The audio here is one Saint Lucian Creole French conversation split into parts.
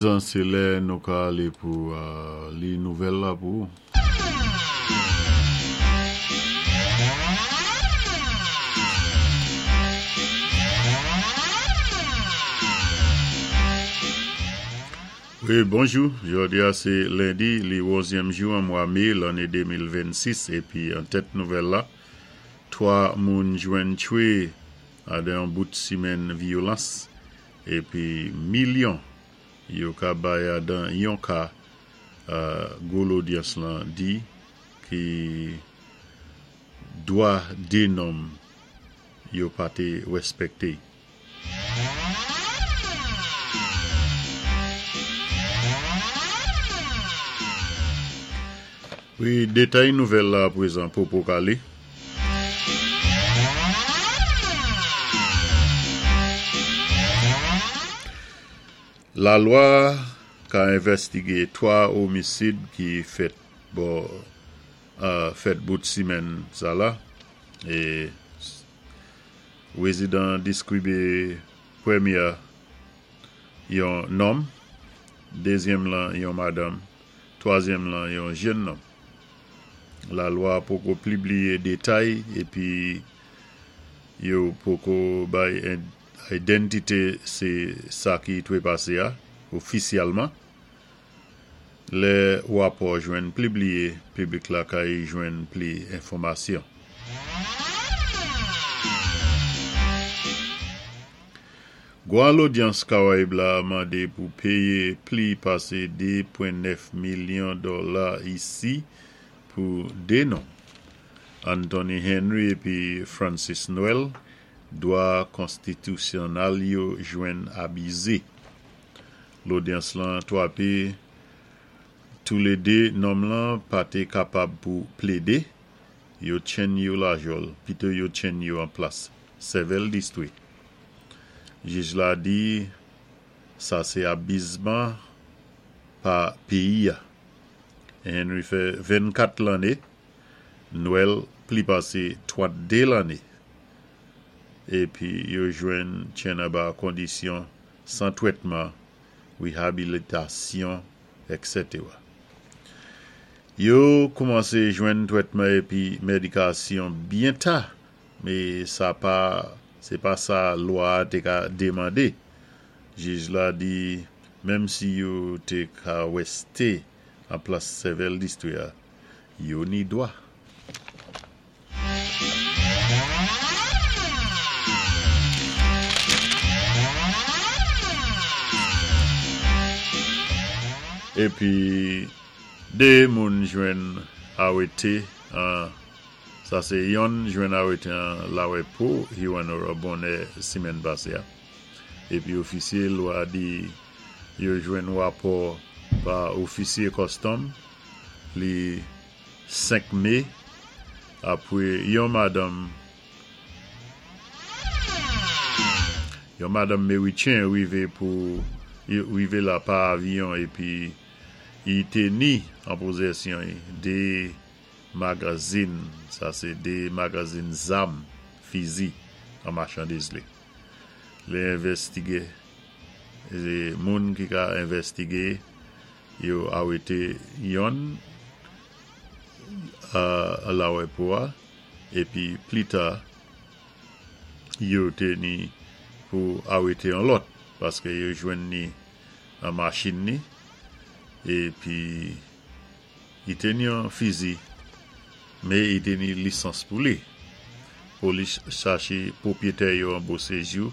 Zan sé lè nou ka alé pou li nouvèl la pou ou. Wi bonjou, jodi a sé lendi li onzyèm jou an mwa mé lanné 2026 épi an tèt nouvèl la 3 moun jwenn tchwé adan yon bout simèn vyolans Epi milyon yo ka bay adan yon ka gwo lodyans lan di ki dwa de nonm yo pa te rèspèkte. Wi, detay nouvèl la aprezan popo kale. Lalwa ka envèstige 3 omisid ki fèt bò fèt bout simèn sa la e rezidan diskribe premyè yon nonm, dezyèm lan yon madanm, twazyèm lan yon jenn nonm. Lalwa poko plibliye detay epi yo poko bay identite se sa ki trepase a ofisyèlman. Lè rapò jwenn plibliye, piblik la kay jwenn pli enfòmasyon. Gwa lodyans Karayib la mande pou peye pli pase 2.9 milyon dola isi pou 2 nonm, Anthony Henry epi Francis Noel, dwa konstitisyonal yo jwenn abize. Lodyans lan twape toulede nonm lan pa te kapab pou plede, yo tchenn yo lajòl pito yo tchenn yo an plas sèvèl distwi. Jij la di sa se abizman pa peyi a. Henry fè 24 lanne, Noel pli pase 32 lanne. Epi yo jwenn chen anba kondisyon san twètman, rehabilitasyon, etc. Yo koumanse jwenn twètman epi medikasyon byen ta Me sa pa se pa sa lwa a te ka demande. Jij la di menm si yo te ka weste an plas sèvèl distri a, yo ni dwa. Epi 2 moun jwenn arete an. Sa se yonn jwenn arete an lawè po Hewanorra bonè simèn pase a. Epi ofisye lwa di yo jwenn rapò pa ofisye kòstòm li 5 me apre yon madanm yon madanm merichen rive pou rive la pa avyon epi i te ni an pozesyon i 2 Magazin, sa se 2 magazin zam, fizi, an machandiz li. Li envestige, e moun ki ka envestige yo arete yonn a lawepo a epi plita yo te ni pou arete yon lòt paske yo jwenn ni an machin ni epi Li te ni yon fizi, me i te ni lisans pou li. Polis chache pwopyetè yo an Beauséjour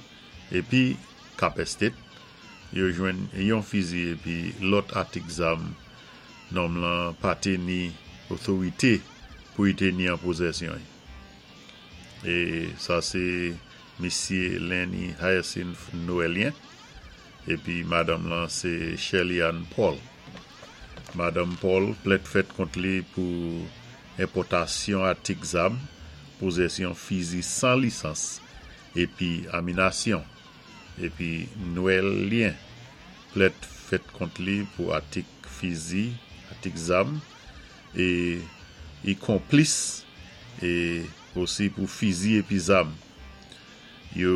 epi Cap Estate, yo jwenn yon fizi epi lòt atik zam nonm lan pa te ni otorite pou i te ni an pozesyon i. E sa se misye Lenny Hyacinth Noëlien epi madanm lan se Sherley Anne Paul. Madanm Paul plent fèt kont li pou enpòtasyon atik zam, pozesyon fizi san lisans epi aminasyon. Epi Noëlien plent fèt kont li pou atik fizi, atik zam e i konplis e osi pou fizi epi zam. Yo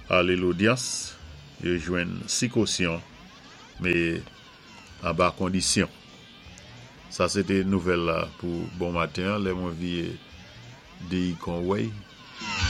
ale lodyans, yo jwenn 6 kosyon. Mé anba kondisyon. Sa sé té nouvèl la pou bon maten, lè mwen viyé déyé kon wèy.